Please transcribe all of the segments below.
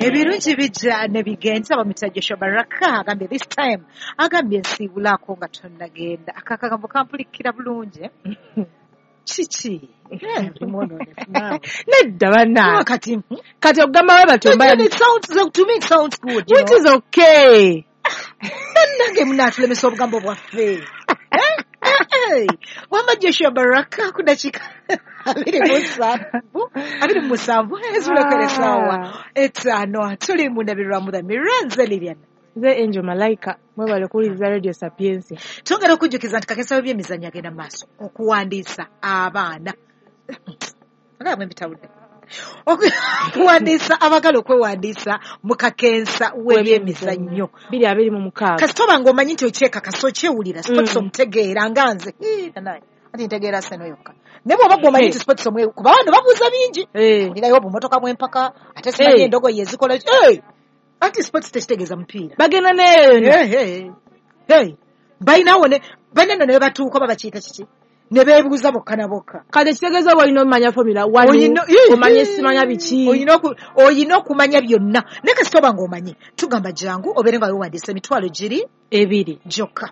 Ebirungi bijja ne bigenda. Bamuyita Joshua Baraka, agambye this time, agambye nsiibulako nga tonnagenda. Akakagambo kampulikira bulungi. Kiki? Tumwonoone naawe. Nedda banna. Kati Kati okugamba we batyo mba it sounds, to me it sounds good, you which know. is okay. Bannange munaatulemesa obugambo bwaffe. Wamba Joshua Baraka ku dakiika 27 ezulekera essaawa 5. Tuli mu ndabirwamu The Mirror, nze Lilian. Nze Angel Malaika, mwebale kuwuliriza Radio Sapientia. Twongera okujjukiza nti kakesa w'ebyemizannyo agenda mu maaso okuwandiisa abaana. Olaba bwe mbitawudde. Okuwandiisa abagala okwewandiisa mu kakensa w'ebyemizannyo 2026. Kasita oba ng'omanyi nti okyekakasa, okyewulira sports, omutegeera nga nze. Ii, nanaye ati ntegeera Arsenal yokka, naye bw'oba gwe omanyi nti sports omwe, kuba bano babuuza bingi. Olirayo obumotoka bw'empaka, ate simanyi endogoyi ezikola. Anti sports tekitegeeza mupiira. Bagenda neeyo yonna. Hey. Balinawo ne balina nno ne batuuka oba bakiyita kiki, ne beebuuza bokka na bokka. Kati ekitegeeza oba olina omumanya Formula One, omanye simanya biki. Olina okumanya byonna, naye kasita oba ng'omanyi, tugamba jangu obeere nga weewandiisa, emitwalo giri 2 gyokka.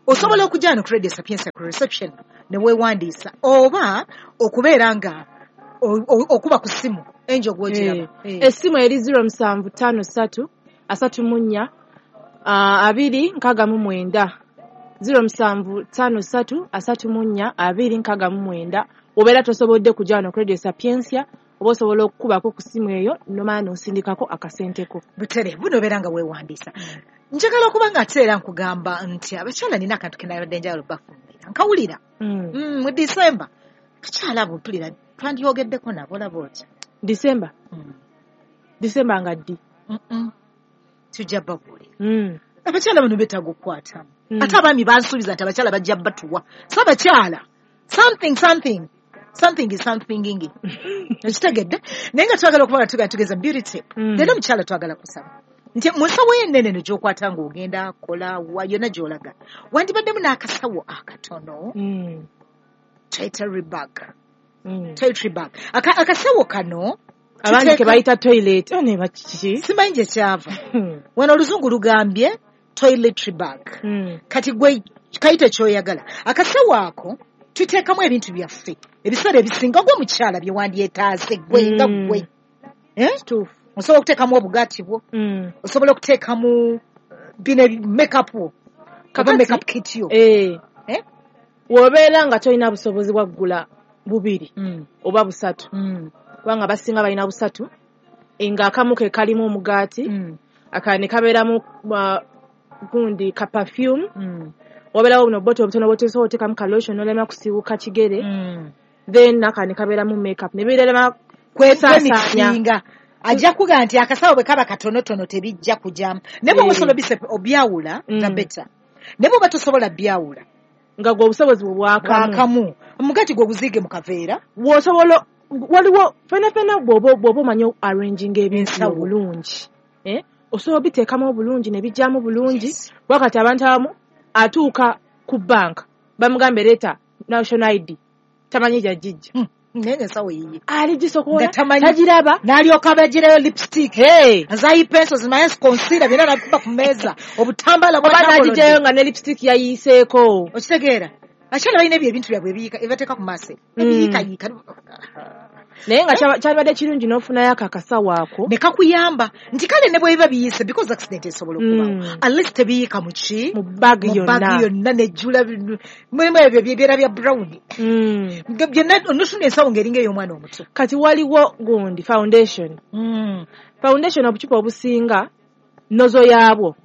Osobola okujja wano ku Radio Sapientia ku reception ne weewandiisa, oba okubeera nga okuba ku ssimu enjo gw'ogiraba. Essimu eri 0753 34 269, 0753 34 269. Obeera tosobodde kujja wano ku Radio Sapientia, oba osobola okukubako ku ssimu eyo nomala n'osindikako akasenteko. Butere buno obeera nga weewandiisa. Njagala okuba nga ate era nkugamba nti abakyala nina akantu ke nabadde njagala obbafumbira, nkawulira mu December. Abakyala abo mpulira twandyogeddeko nabo, olaba otya? December? December nga ddi? Tujja babuulira. Abakyala bano beetaaga okukwatamu. Ate abaami bansuubiza nti abakyala bajja batuwa, so abakyala something something something is something, ekitegedde. Naye nga twagala okuba nga tugenda tugeza beauty tip. Leero omukyala twagala kusaba nti mu nsawo yo ennene eno gy'okwata ng'ogenda kola wa yonna gy'olaga, wandibaddemu n'akasawo akatono, toiletry bag. Toiletry bag. Akasawo kano Abandi ke bayita toilet, oh, ne bakiki. Simanyi gye kyava. Wano oluzungu lugambye toiletry bag. Kati gwe kayite ky'oyagala. Akasawo ako tuteekamu ebintu byaffe ebiseera ebisinga gwe omukyala bye wandyetaaze gwe nga gwe. Kituufu. Osobola okuteekamu obugaati bwo, osobola okuteekamu bino makeup wo, oba makeup kit yo. Eh? Bw'obeera nga tolina busobozi bwa kugula bubiri oba busatu, kubanga abasinga balina busatu, ng'akamu ke kalimu omugaati, akalala ne kabeeramu gundi ka perfume, wabeerawo buno buboto obutono bw'osobola oteekamu ka lotion n'olema kusiiwuuka kigere, then n'akalala ne kabeeramu makeup ne birema kwesaasaanya. Kwemikisinga. Ajja kugamba nti akasawo bwe kaba katonotono tebijja kujamu, naye bw'oba osobola obyawula, the better. Naye bw'oba tosobola byawula, nga gwe obusobozi bwe bwakamu, bwakamu, omugaati gwe oguziige mu kaveera. Bw'osobola, waliwo fena fena bw'oba omanyi arranging ebintu Ensawo. obulungi, osobola obiteekamu obulungi ne bijjamu bulungi. Wakati abantu abamu atuuka ku banka bamugambe leeta national ID, tamanyi gy'agijja. Naye ensawo yiye. Ali gisokola, Nga tamanyi. tagiraba. N'alyoka abagirayo lipstick, Hey! azayi pencils, naye concealer, byonna n'abikuba ku mmeeza, obutambaala Oba bw'atambolodde. n'agijjayo nga ne lipstick yayiiseeko. Okitegeera, abakyala balina ebyo ebintu byabwe ebiyiika ebibateeka ku maaso, ebiyiikayiika. Naye nga kyalibadde kirungi n'ofunayo ako akasawo ako ne kakuyamba nti kale ne bwe biba biyiise, because accident esobola okubaawo, at least tebiyiika mu ki, mu bag mu yonna. bag yonna nejjula mulimu ebyo byebyera bya brown. Nga byonna onofuna ensawo ng'eringa ey'omwana omuto. Kati waliwo gundi foundation, foundation obucupa obusinga nozo yaabwo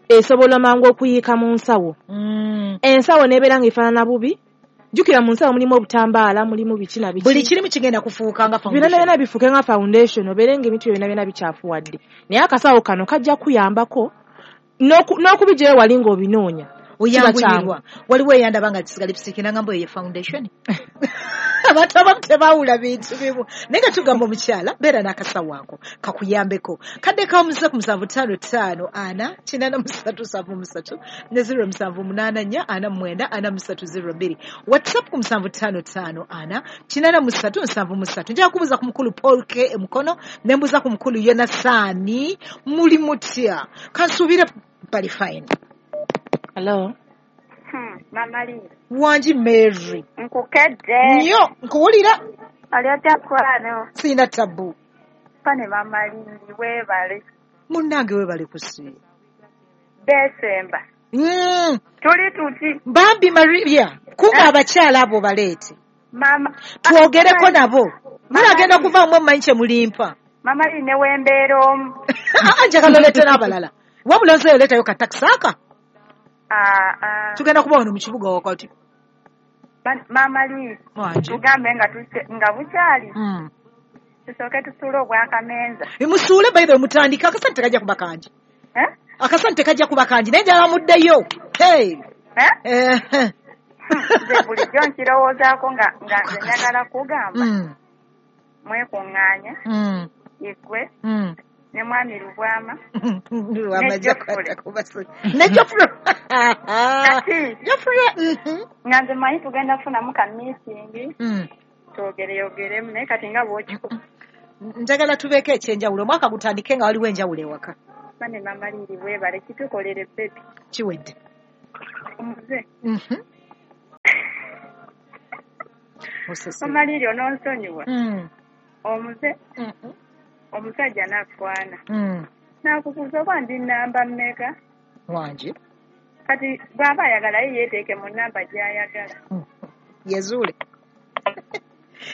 esobola mangu okuyiika mu nsawo, ensawo n'ebeera ng'efaanana bubi. Jjukira mu nsawo mulimu obutambaala, mulimu biki na biki, buli kirimu kigenda kufuuka nga byonna foundation. Byonna bifuuke nga foundation, obeere ng'ebintu byonna byonna bikyafuwadde. Naye akasawo kano kajja kuyambako n'okubigyayo wali ng'obinoonya. Oyanguyirwa. Waliwo eyandaba nga kisiga lipstick nangamba eyo ye foundation. Abantu abamu tebawula bintu bimu. Naye nga tugamba omukyala beera n'akasawo ako kakuyambeko. Kadde kamuze ku 755 4 8373 ne 0784 49 4302. WhatsApp ku 755 4 8373. Nja kubuuza ku mukulu Paul K Mukono ne mbuuza ku mukulu Yonasaani muli mutya. Kansuubire bali fine. Hello. Mama Lee. Wangi Mary. Nkukedde. Nnyo nkuwulira. Ali otya kwano? Sirina tabu. Pane Mama Lee weebale. Munnange weebale kusiima. Desemba. Tuli tuti. Bambi Maria, kunga abakyala abo baleete. Mama. Twogereko nabo. Mulagenda kuvaamu mmanyi kye mulimpa. Mama Lee ne wembeera omu. Njagala oleete n'abalala. Wabula nze oleetayo ka takisi aka. Tugenda kuba wano mu kibuga wakati. Mama Lee, tugambe nga bukyali. Tusooke tusuule obwakamenza. Musuule by the way mutandike akasente tekajja kuba kangi. Akasente tekajja kuba kangi naye njagala muddeyo. Hey. Nze bulijjo nkirowoozaako nga nze njagala kugamba. Mwekuŋŋaanya. Igwe. Ne mwami Lubwama. Ne Geoffrey. Kati. Geoffrey. Nga nze mmanyi tugenda kufunamu ka meeting. Twogereyogeremu naye kati nga bw'okikuba. Njagala tubeeko ekyenjawulo. Omwaka gutandike nga waliwo enjawulo ewaka. Bane Mama Lee weebale kitukolere baby. Kiwedde. Omuze. Mama Lee ononsonyiwa. Omuze. Omusajja n'akwana. N'akubuuza oba ndi nnamba mmeka? Wangi. Kati bw'aba ayagala ye yeeteeke mu nnamba gy'ayagala. Yezuule.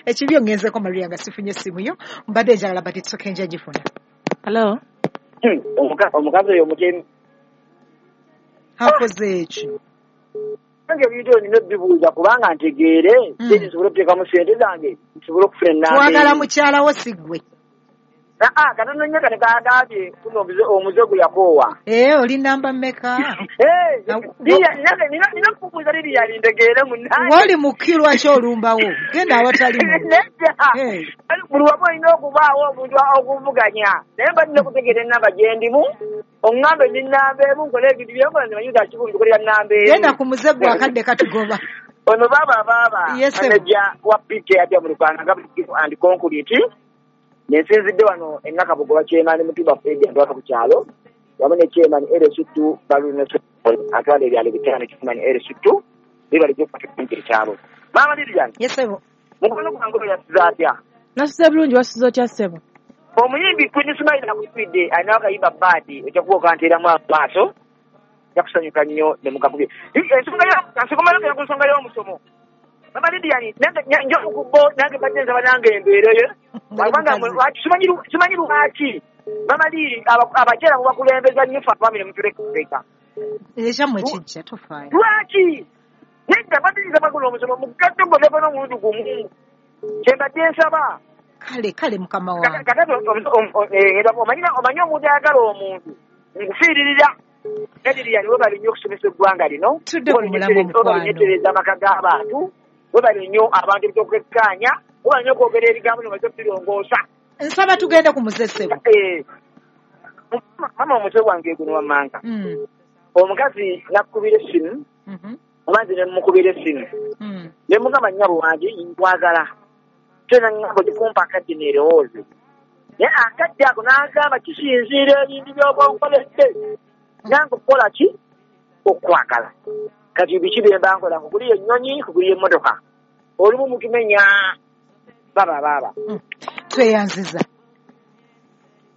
Ekibi ongenzeko Maria nga sifunye essimu yo, mbadde njagala but it's okay nja gifuna. Hello. Omukazi oyo omutemi. Akoze ekyo. Nange ebintu nina obibuuza kubanga ntegeere, nsobole okuteekamu ssente zange, nsobole okufuna ennamba. Twagala mukyala wo si ggwe. Katono nnyo kati kagambye kuno omuze gwe yakoowa. Oli namba mmeka? Nina okubuuza Lilian ntegeere munnange. W'oli mu kki lwaki olumbawo? Genda awatali muntu. Nedda. Buli wamu olina okubaawo omuntu okuvuganya. Naye mba nina okutegeera ennamba gye ndimu, oŋŋambe ndi nnamba emu nkole ebintu bye nkola nze manyi nti akikulu nkolera nnamba emu. Genda ku muze gwe akadde katugoba. Ono baaba manager wa PK ajja mu Luganda nga and concrete. Nensinzidde wano Ennakabugo chairman Mutuba Fred atwala ku kyalo wamu ne chairman LC2 Baluna atwala ebyalo bitaano chairman LC2 bibali gy'okufatingira ekyalo. Mama Lilian. Yes sebo. Mukono gwange oyo yasuze atya? Nasuze bulungi wasuze otya ssebo? Omuyimbi Queen Smile akufidde alina akayimba baadi ojja kuba okanteeramu amaaso ojja kusanyuka nnyo ne mukakubye. Ensonga ku nsonga y'omusomo. Mama Lilian nja okubo nange mbadde nsaba nange embeereyo. Kubanga simanyi lwaki Mama Lili abakyala mubakulembeza nnyo ffe abaami ne mutuleka. Ekyammwe kijja tofaayo. Lwaki? Nedda mbadde nsaba guno omusomo mugatte gwonna n'omulundi gumu. Kye mbadde nsaba. Kale mukama wange. Kakati omanyi omuntu ayagala omuntu nkufiiririra. Lilian webale nnyo okusomesa eggwanga lino. Tudde ku mulamwa omukwano. Webale nnyo amaka g'abantu. Webale nnyo abantu ebyokwekkaanya. Webale nnyo okwogera ebigambo bino birongoosa. Nsaba tugende ku muze ssebo. Mama omuze gwange guno wammanga. Omukazi nakkubira essimu. Oba nze ne mmukubira essimu. Ne mugamba nnyabo wange nkwagala. Tena nnyabo gikumpa akadde neerowooze. Naye akadde ako n'agamba kisinziira ebintu by'oba onkoledde. Nange okukola ki? Okwagala. Kati biki bye mba nkola? Nkuguliye ennyonyi, nkuguliye emmotoka. Olumu mutumenya baba. Tweyanziza.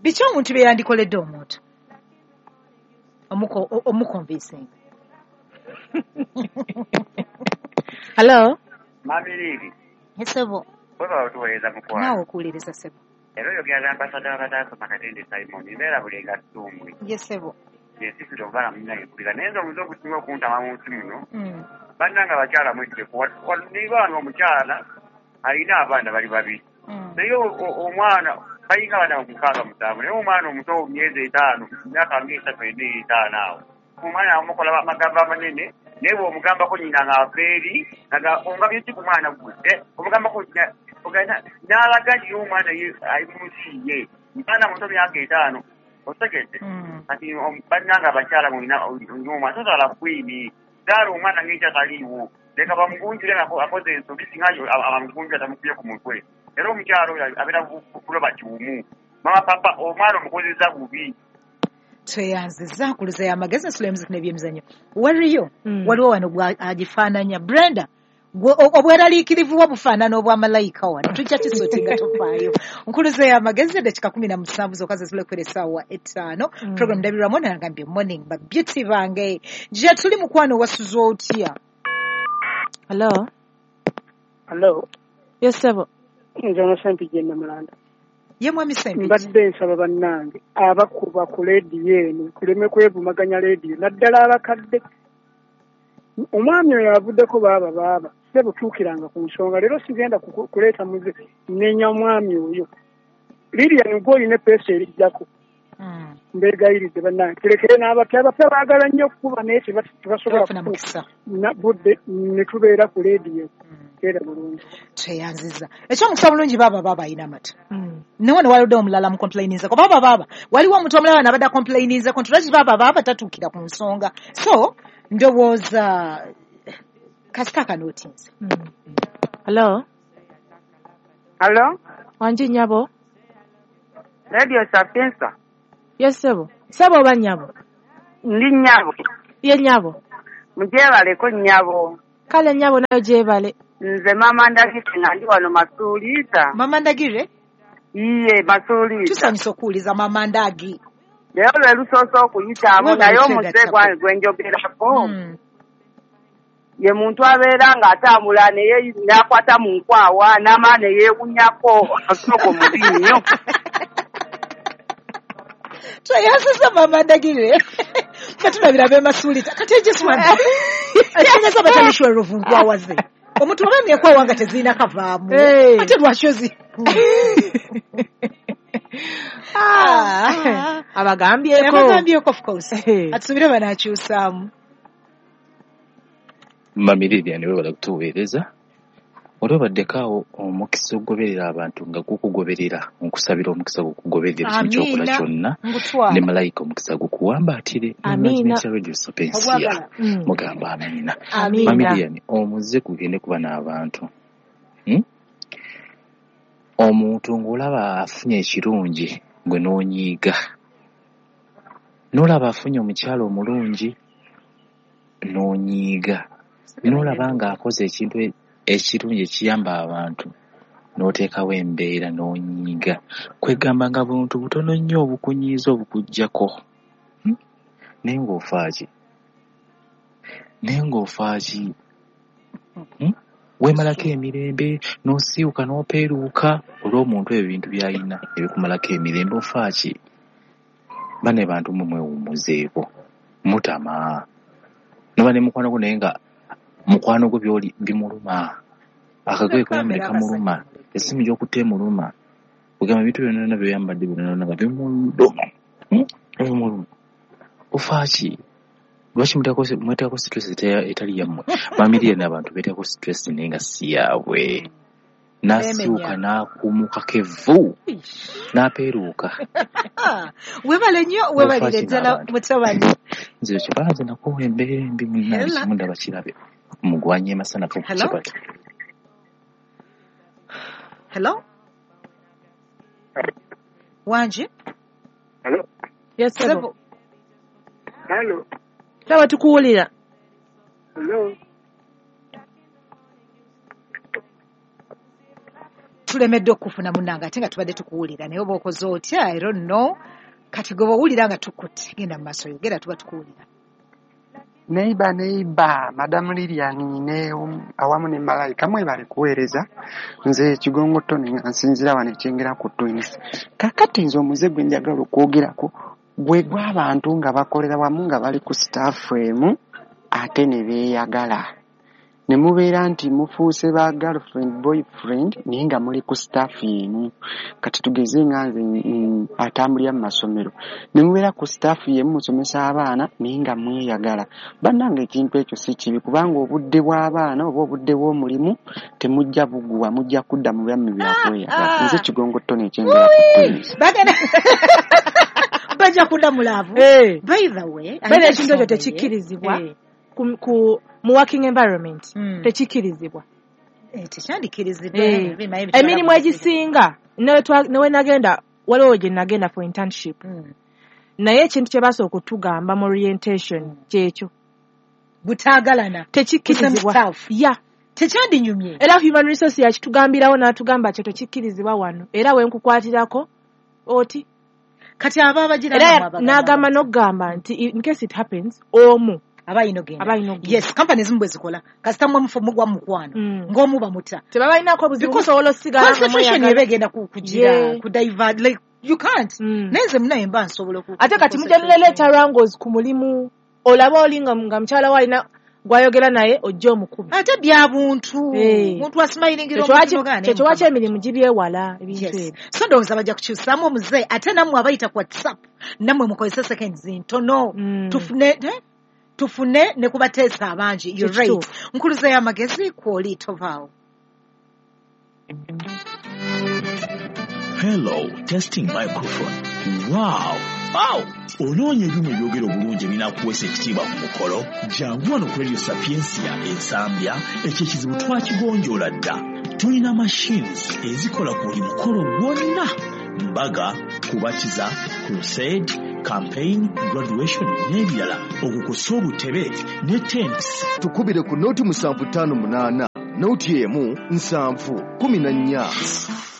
Biki omuntu bye yandikoledde omuntu? Omukonvinsinga. Hello. Mami Lili. Ssebo. Webale otuweereza mukwano. Naawe okuwuliriza ssebo. Era oyogera ambasada w'abataasoma Katende Simon, mbeera Bulenga Ssumbwe. Ye ssebo. Ensisira obala munnange mpulira naye nze omuze ogusinga okuntama mu nsi muno. Bannange abakyala mwejjeko. Niba nga omukyala alina abaana bali babiri. Naye omwana balinga abaana 6 7 naye omwana omuto myezi 5 myaka 3 4 5 awo. Omwana amukola amagambo amanene Naye bw'omugambako nnyina ng'ava eri nga omugambye ki ku mwana gwe, omugambako n'alaga nti omwana ye ali mu nsi ye, mwana muto myaka 5, otegedde? Kati bannange abakyala mulina omwana, tozaala kwini, zaala omwana ng'ekya taliiwo, leka bamugunjule akoze ensobi, singa abamugunjula tamukubye ku mutwe. Era omukyalo oyo abeera kuloba kiwumu. Mama papa omwana omukozesa bubi. Tweyanziza nkuluza y'amagezi ensula y'emuziki n'ebyemizannyo. Waliyo waliwo wano agifaananya Brenda, obweraliikirivu bwo bufaanana obwa malayika wano, tujja kisotinga tofaayo. Nkuluza y'amagezi eddakiika 17 zokka zezulekera essaawa 5. Program ndabirwamu nagambye morning ba beauty bange. Gye tuli mukwano wasuze otya? Hello. Hello. Yes, sebo. Nze ono Ssempijja Namulanda. Ye mwami Ssempijja. Mbadde nsaba bannange abakuba ku leediyo eno tuleme kwevumaganya leediyo, naddala abakadde. Omwami oyo avuddeko baaba ssebo, tuukiranga ku nsonga. Leero sigenda kuleeta muze nnenya omwami oyo. Lilian gwe olina eppeesa erijjako. Mbeegayiridde bannange tulekere n'abapya. Abapya baagala nnyo okukuba naye tebasobola kufuna budde ne tubeera ku leediyo. Era bulungi. Tweyanziza. Ekyomukisa bulungi baaba alina amata. Naye wano waludde omulala mu complaininzeko. Baaba waliwo omuntu omulala n'abadde acomplaininzeko nti lwaki baaba tatuukira ku nsonga. So ndowooza kasita akanootinze. Hello. Hello. Wangi nnyabo. Radio Sapienza. Yes, sebo. Sebo oba nnyabo? Ndi nnyabo. Ye nnyabo. Mugyebaleko nnyabo. Kale nnyabo nayo gyebale. Nze mama Ndagire nga ndi wano Masuuliita. Mama Ndagire? Iye, Masuuliita. Tusanyusa okuwuliza mama Ndagi. Leero lwe lusoose okuyitaamu, naye omuze gwange gwe njogerako ye muntu abeera ng'atambula n'akwata mu nkwawa n'amala ne yeewunyako asooka omubi nnyo. Tweyanziza mama Ndagire. Ffe tulabira b'e Masuuliita. Kati egiswana ekitegeeza batalishwerovu nkwawa ze. Omuntu oba emyekwawa nga tezirina kavaamu, ate lwaki ozi abagambyeko? Abagambyeko of course. Atusuubire banaakyusaamu. Mami Lilian weebale kutuweereza. Oli obaddeko awo omukisa ogugoberera abantu nga gukugoberera, nkusabira omukisa gukugoberera ekintu ky'okola kyonna, ne malayika omukisa gukuwambaatire. Amiina. Radio Sapiensia mugamba amiina. Mami Lilian, omuze gugende kuba n'abantu. Omuntu ng'olaba afunye ekirungi gwe n'onyiiga, n'olaba afunye omukyala omulungi n'onyiiga, n'olaba ng'akoze ekintu ekirungi ekiyamba abantu n'oteekawo embeera n'onyiiga. Kwegamba nga buntu butono nnyo obukunyiiza obukuggyako. Naye ng'ofaaki? Naye ng'ofaaki? Weemalako emirembe n'osiiwuka n'opeeruuka olw'omuntu ebyo ebintu by'alina ebikumalako emirembe, ofaaki? Banne bantu mmwe mwewummuzeeko, mutama. Noba ne mukwano gwo naye nga mukwano gwo by'oli bimuluma, akagoye koyambadde kamuluma, essimu gy'okutte emuluma, kugamba ebintu byonna byonna by'oyambadde byonna byonna nga bimuluma. Bimuluma. Ofaaki? Lwaki mweteekako stress etali yammwe? Mami Lilian abantu beeteekako stress naye nga si yaabwe. N'asiiwuka n'akuumukako evvu n'apeeruuka. Weebale nnyo, weebalire ddala mutabani. Nze kyokka nze nakoowa embeera embi munnange, kimu ndaba kirabe. Mugwanye masanafu ku kibatu. Hello? Wangi? Hello? Yes, sebo. Hello. Sebo tukuwulira. Hello. Tulemedde okufuna munnange ate nga tubadde tukuwulira, naye oba okoze otya? I don't know. Kati gwe bw'owulira nga tukutte, genda mu maaso yogera, tuba tukuwulira. Neiba Madam Lilian ne awamu ne Malayika mwebale kuweereza. Nze Kigongo Tony nga nsinziira wano ekyengera ku Twins. Kaakati nze omuze gwe njagala okwogerako gwe gw'abantu nga bakolera wamu nga bali ku staff emu ate ne beeyagala. Ne mubeera nti mufuuse ba girlfriend boyfriend naye nga muli ku staff yemu. Kati tugeze nga nze atambulira mu masomero, ne mubeera ku staff yemu musomesa abaana naye nga mweyagala. Bannange ekintu ekyo si kibi, kubanga obudde bw'abaana oba obudde bw'omulimu temujja buguwa, mujja kudda mu byammwe byakweyagala. Nze Kigongo Tony ekyengera ku Twins. Bajja kudda mu laavu. By the way, ekintu ekyo tekikkirizibwa ku mu working environment. Tekikkirizibwa. Tekyandikirizibwa. Emirimu egisinga newe nagenda, waliwo gye nagenda for internship. Naye ekintu kye basooka okutugamba mu orientation kyekyo. Butaagalana. Tekikkirizibwa. Yeah. Tekyandinyumye. Era human resource yakitugambirawo n'atugamba kyo tekikkirizibwa wano. Era we nkukwatirako oti. Kati aba abagira n'agamba n'okugamba nti in case it happens omu aba ino. Yes, companies zimu bwe zikola. Kasita mwe mufu mugwa mukwano. Ng'omu bamuta. Tebabalinaako buzibu musobola osigala nga concentration eba egenda kugira, ku divert, like you can't. Naye nze munaye mba nsobola ku. Ate kati mujja neleeta wrangles ku mulimu. Olaba oli nga mukyala we alina gwayogera naye ojja omukubi. Ate bya buntu. Muntu asmilingira omuntu ogana. Kyekyo lwaki emirimu gibyewala ebintu ebyo. So ndowooza bajja kukyusaamu omuze, ate nammwe abayita ku WhatsApp nammwe mukozese seconds ntono. Tufune ne kubateesa abangi. You're right. Nkuluze y'amagezi kwoli tovaawo. Hello, testing microphone. Wow. Wow! Onoonya ebyuma ebyogera obulungi ebinaakuweesa ekitiibwa ku mukolo? Jangu wano ku Radio Sapientia Ensambya, ekyo ekizibu twakigonjoola dda. Tulina machines ezikola ku buli mukolo gwonna: mbaga, kubatiza, crusade, campaign, graduation n'ebirala. Okukosa obutebe ne tents. Tukubire ku noti 758 noti 1 7 14.